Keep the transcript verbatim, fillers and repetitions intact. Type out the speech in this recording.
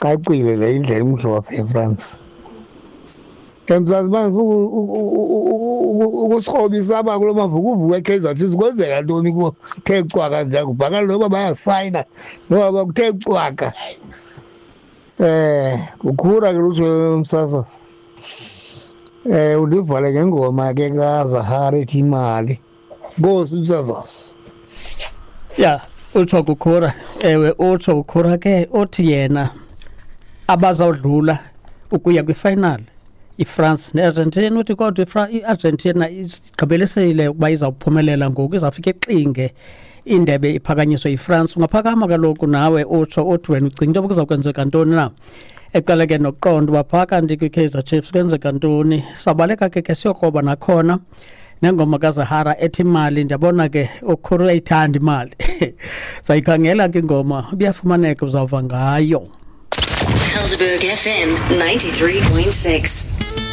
Cacile le indlela imhlophe eFrance. Emzantsi bangifuna ukusikrobisa apha kulo mavukuvuku eKaizer Chiefs, kwenzeka ntoni kuwo? Kuthe cwaka nje, kubhakala noba bayasayina noba kuthe cwaka. Eh kukhura ke lutsho umsasazi. Eh undivale ngengoma ke kaZahara ethi imali. Nkosi umsasazi. Ya, utsho kukhura. Ewe, utsho kukhura ke uthi yena abazawudlula ukuya kwifinal iFrance neArgentina. Uthi kodwa iArgentina igqibelisile ukuba izawuphumelela ngoku, izawufika ixinge indebe iphakanyiswe yiFrance. Ungaphakama kaloku nawe utsho uthi wena ucinga into yoba kuza kwenzeka ntoni na, ecala ke nokuqonda uba phaa kanti kwiKaizer Chiefs kwenzeka ntoni. Sabaleka ke ke siyokroba nakhona nengoma kaZahara ethi imali. Ndiyabona ke ukhuru uyayithanda imali, sayikhangela ke ingoma, ibuyafumaneka, uzawuva ngayo. Helderberg F M ninety-three point six.